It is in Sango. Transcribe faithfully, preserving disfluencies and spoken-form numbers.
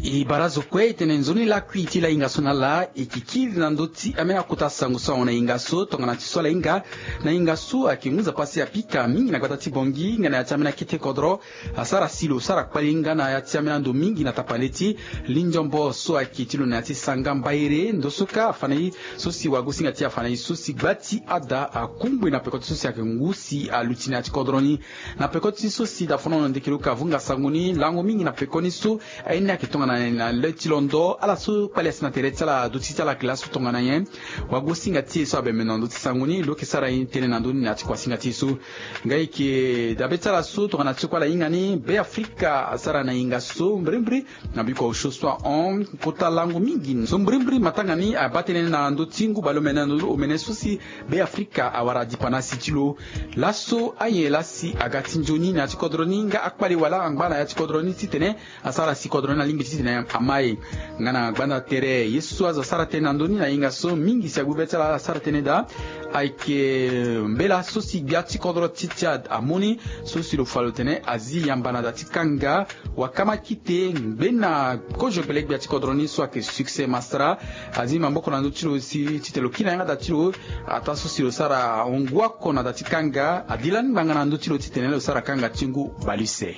E bara zo kue e tene nzoni lakui ti lahinga so na ala e ke kiri na ndö ti ambeni akota sango so ahon na hinga so tongana ti so ala hinga. Na hinga so ayeke ngu nzapa si apika mingi na gbata ti Bongi nga na ya ti ambeni akete kodro. Asara si lo sara kpali nga na ya ti ambeni ando mingi na tapande ti lindiombo so ayeke ti lo na ya ti sanga mbaire ndo so kâ afa na e. So si wagosinga ti e afa na e so si gba ti ada akungbi na peko ti so si ayeke ngu si aluti na ya ti kodro ni. Na peko ti so si dafono ndeke lo ka vunga sango ni lango mingi na peko ni so aye ni ayeke tongana nyen na le ti londo ala so kpali asi na tere ti ala aduti ti ala ayeke laso tongana nyen. Wagosinga ti e so abembe na ndö ti sango ni lo yeke sara ye tënë na ndö ni na ya ti kuasinga ti e so. Nga e yeke dabe ti ala so tongana ti kue ala hinga ni Be Afrika asara na hinga so mbirimbiri. Na biko osio so ahon kota lango mingi so mbirimbiri matanga ni abaa tënë na ndö ti ngu baleomene na ndö ti omene so si Be Afrika awara dipa na si ti lo. Laso aye laa si aga ti nzoni na ya ti kodro ni nga akpale wala angba na ya ti kodro ni titene asara si kodro ni alingbi titene ama e. Nga na gbanda tere ye so azo asara tënë na ndö ni na hinga so mingi si agbu be ti ala asara tënë daa. Ayeke mbela so si gbia ti kodro ti Tchad amu ni so si lo fa lo tene azi yamba na da ti kanga. Wakama kite ngbena kozo gbele gbia ti kodro ni so ayeke Succès Masra azi maboko na ndö ti lo si titene lo kiri na yanga da ti lo. Ataa so si lo sara ahon ngu oko na da ti kanga adi lani ngbanga na ndö ti lo titene lo sara kanga ti ngu baleuse.